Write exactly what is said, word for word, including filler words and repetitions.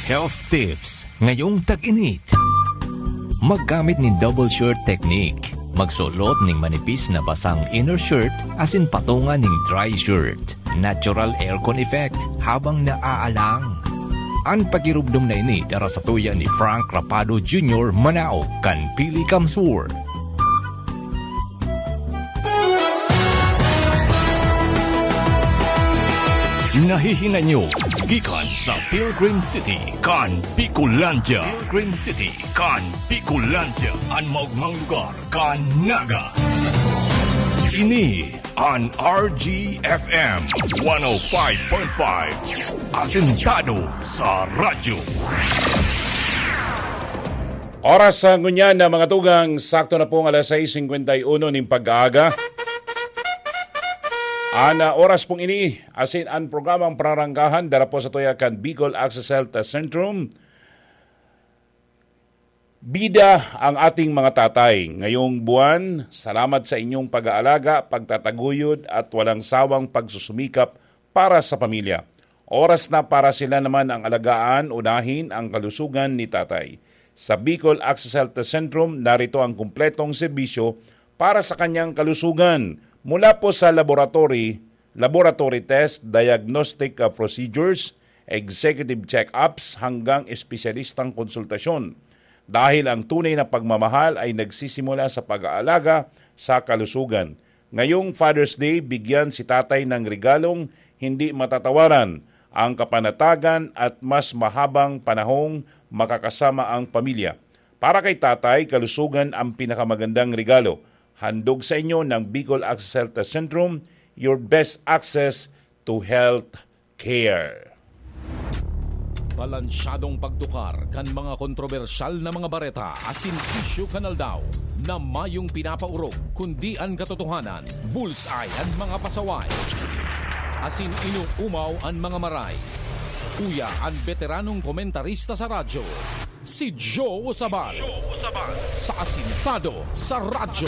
Health tips ngayong tag-init. Maggamit nin double shirt technique. Magsulot ning manipis na basang inner shirt asin patunga ning dry shirt. Natural aircon effect habang naaalang. An pakirubdom na ini dara sa tuya ni Frank Rapado Junior, Manao, kan Pili Kamsur. Nahihinay nyo gikan sa Pilgrim City kan Bicolandia. Pilgrim City kan Bicolandia, an maogmang lugar kan Naga. Ini an R G F M one oh five point five, asentado sa radyo. Oras sa ngunyan na mga tugang, sakto na pong alas sais singkwenta y uno nin pag-aaga. An, ah, oras pong ini, asin an programang Pararangkahan, dara po sa tuya kan Bicol Access Health Centrum. Bida ang ating mga tatay. Ngayong buwan, salamat sa inyong pag-aalaga, pagtataguyod at walang sawang pagsusumikap para sa pamilya. Oras na para sila naman ang alagaan, unahin ang kalusugan ni tatay. Sa Bicol Access Health Centrum, narito ang kumpletong serbisyo para sa kanyang kalusugan. Mula po sa laboratory, laboratory test, diagnostic, uh, procedures, executive check-ups, hanggang espesyalistang konsultasyon. Dahil ang tunay na pagmamahal ay nagsisimula sa pag-aalaga sa kalusugan. Ngayong Father's Day, bigyan si tatay ng regalong hindi matatawaran, ang kapanatagan at mas mahabang panahong makakasama ang pamilya. Para kay tatay, kalusugan ang pinakamagandang regalo. Handog sa inyo ng Bicol Access Health Centrum, your best access to health care. Balansyadong pagtukar kan mga kontrobersyal na mga bareta asin isyu kan aldaw na mayong pinapaorog, kundi an katotohanan, bullseye an mga pasaway, asin inuumaw an mga maray. Uya an beteranong komentarista sa radyo, si Joe Usabal, sa Asintado sa Radyo.